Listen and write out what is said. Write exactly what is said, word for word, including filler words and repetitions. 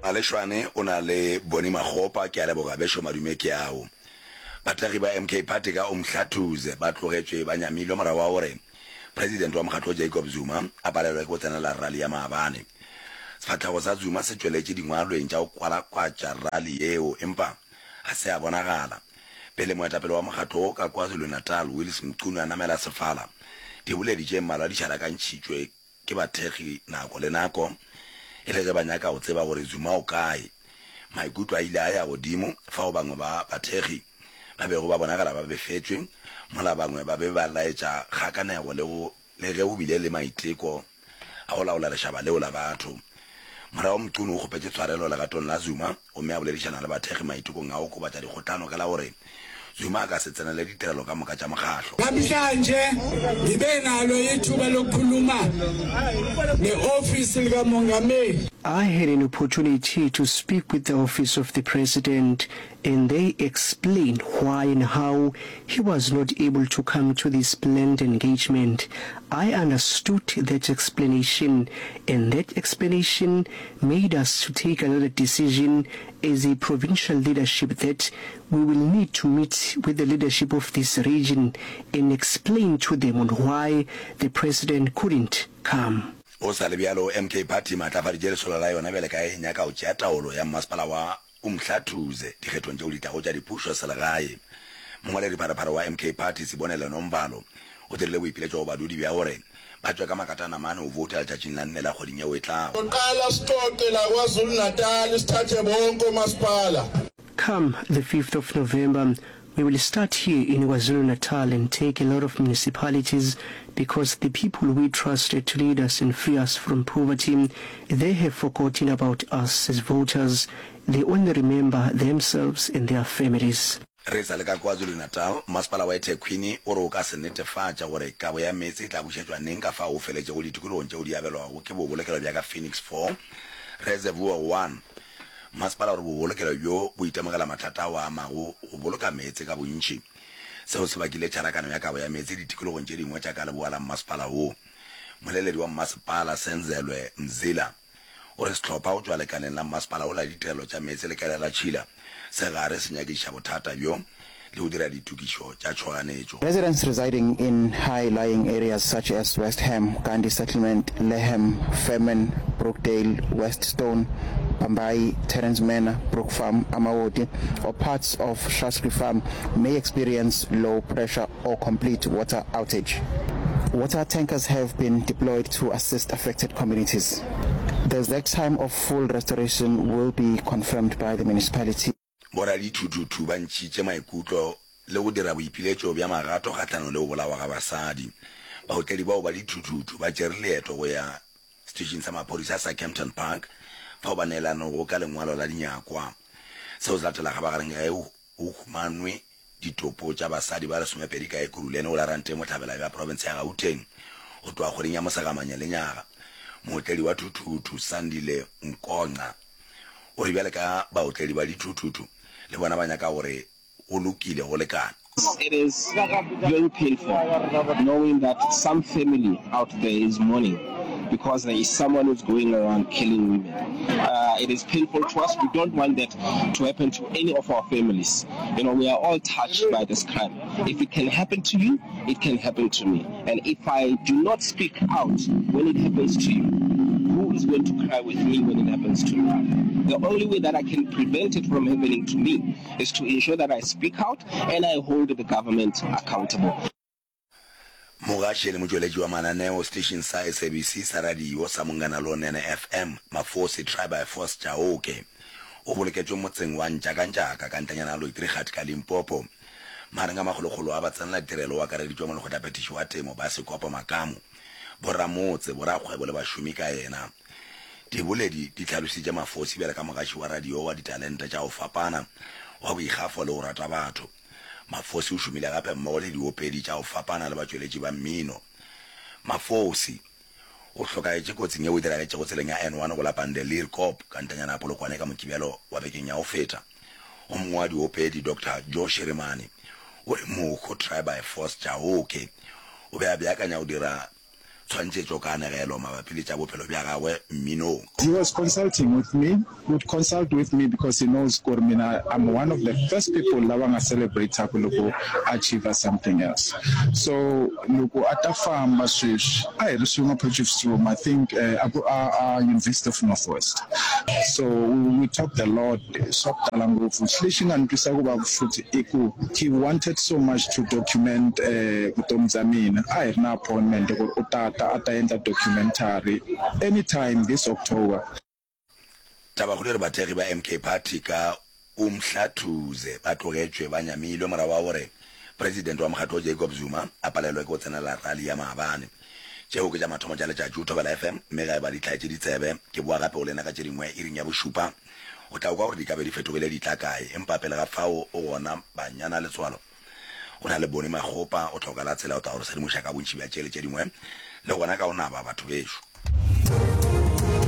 Maleshwane o na le Bonnie Makgopa, ke a leboga bešo madume ke ao. Bathekgi ba M K Party ka Umhlathuze ba tlogetšwe ba nyamilwe morago ga gore President wa mokgatlo Jacob Zuma a palelwe ke go tsenela rally ya maabane. Sefahlego sa Zuma se tšweletše dingwalweng tša go kwalakwatša rally yeo empa ga se a bonagala. Pele moetapele wa mokgatlo wo ka KwaZulu-Natal Willies Mchunu a namela sefala, diboledi tše mmalwa di šalakantšhitšwe ke bathekgi nako le nako e le ge ba nyaka go tseba gore Zuma o kae. Maikutlo a ile a ya godimo fao bangwe ba bathekgi ba bego ba bonagala ba befetšwe mola bangwe ba be ba laetša kgakanego le go le ge go bile le maiteko a go laola lešaba leo la batho. Morago Mchunu o kgopetše tshwarelo legatong la Zuma gomme a boledišana le bathekgi maitekong a go okobatša dikgohlano ka la gore Zuma a ka se tsenele ditirelo ka moka tša mokgahlo. Namhlanje ngibe nalo ithuba lokukhuluma ne-ofisi likamongameli. I had an opportunity to speak with the office of the president and they explained why and how he was not able to come to this planned engagement. I understood that explanation and that explanation made us to take another decision as a provincial leadership that we will need to meet with the leadership of this region and explain to them on why the president couldn't come. Go sa le bjalo, M K Party e maatlafaditše lesolo la yona bjale ka e nyaka go tšea taolo ya mmasepala wa Umhlathuze dikgethong tšeo di tlago tša dipušo selegae. Mongwaledipharephare wa M K Party, Sibonele Nomvalo, o dirile boipiletšo go badudi bja gore ba tšwe ka makatanamane go vouta letšatšing la nne la kgweding yeo e tlago. Soqala sixoxe la KwaZulu-Natal sithathe bonke omasipala. Come the fifth of November, we will start here in KwaZulu-Natal and take a lot of municipalities because the people we trusted to lead us and free us from poverty, they have forgotten about us as voters. They only remember themselves and their families. Re sa le ka KwaZulu-Natal, Masepala wa eThekwini o re o ka se netefatša gore kabo ya meetse e tla bušetšwa neng ka fao o feletšego ditikologong tšeo di abelwago ke bobolokelo bja ka Phoenix four, Reservoir one. Masepala o re bobolokelo bjo bo itemogela mathata ao a amago go boloka meetse ka bontši. Seo se bakile tšharakano ya kabo ya meetse ditikologong tše dingwe tša ka leboa la mmasepala wo. Moleledi wa mmasepala, Senzelwe Mzila, o re sehlopha go tšwa lekaleng la mmasepala wo la ditirelo tša meetse le kelelatšhila se gare se nyakišiša bothata bjo le go dira ditokišo tša tšhoganetšo. Residents residing in high-lying areas such as West Ham, Gandhi Settlement, Leham, Fairman, Brookdale, West Stone, Bambai, Terence Manor, Brook Farm, Amawoti, or parts of Shaftesbury Farm may experience low pressure or complete water outage. Water tankers have been deployed to assist affected communities. The exact time of full restoration will be confirmed by the municipality. Boradithuthuthu ba ntšhitše maikutlo le go dira boipiletšo bja magato kgahlanong le go bolawa ga basadi. Baotledi bao ba dithuthuthu ba tšere leeto go ya seteišeng sa maphodisa sa Kempton Park fao ba neelanego ka lengwalo la dinyakwa. Seo se latela kgabagareng ge go humanwe ditopo tša basadi ba lesomepedi ka Ekurhuleni go la Ranteng bohlabela bja profense ya Gauteng go tloga kgweding ya Mosegamanye lenyaga. Mootledi wa thuthuthu Sandile Nkonqa o re bjale ka baotledi ba dithuthuthu le bona ba nyaka gore go lokile go lekane. It is very painful knowing that some family out there is mourning because there is someone who's going around killing women. Uh, it is painful to us. We don't want that to happen to any of our families. You know, we are all touched by this crime. If it can happen to you, it can happen to me. And if I do not speak out when it happens to you, who is going to cry with me when it happens to me? The only way that I can prevent it from happening to me is to ensure that I speak out and I hold the government accountable. Mogaši le motšweletši wa mananeo seteišeng sa S A B C sa radio sa Munghana Lonene F M, Mafosi Try by Force Chauke, o boloketšwe motseng wa Ntšakantšaka ka ntlenyana ya Loitrigat ka Limpopo. Magareng a makgolokgolo a batsenela-tirelo o akareditšwe molekgotlaphethiši wa temo Basekopo Makamu, boramotse, borakgwebo le bašomi ka yena. Diboledi di hlalositše Mafosi bjalo ka mogaši wa radio wa ditalente tša go fapana, wa boikgafo le go rata batho. Mafosi o šomile gape mmogo le diopedi tša go fapana le batšweletši ba mmino. Mafosi o hlokagetše kotsing yeo e diragetšego tseleng ya N one go la Pandelierkop ka ntanyana ya Polokwane ka Mokibelo wa bekeng ya go feta. O mongwe wa diopedi, Doctor Joe Shirimani, o re mohu Try by Force Chauke o be a beakanya go dira tshwantšhetšo kanegelo mabapi le tša bophelo bja gagwe mminong. He was consulting with me, he would consult with me because he knows gore mina I'm one of the first people lava nga celebrate-aku loko a achiever something else. So loko a ta famba sweswi a hi ri swin'we Potchefstroom, I think a ku a a University of North West. So we talked a lot, swa ku tala ngopfu. Lexi nga ni twisa ku vava futhi i ku he wanted so much to document vutomi bya mina. A hi ri na appointment ku ri u ta ta a ta endla documentary anytime this October. Tabakgolo e re bathekgi ba M K Party ka Umhlathuze ba tlogetšwe ba nyamilwe morago ga gore President wa mokgatlo Jacob Zuma a palelwe ke go tsenela rally ya maabane. Tšeo ke tša mathomo tša letšatši go Thobela F M mme ge eba di hlaetše ditsebe ke boa gape go lena ka tše dingwe iring ya bošupa. O tla kwa gore di ka be di fetogile di tla kae empa pele ga fao o gona Banyana Letswalo go na le Boni Makgopa o hloka la tsela o tla go re sedimoša ka bontši bja tše le tše dingwe le gona ka go naba batho bešo.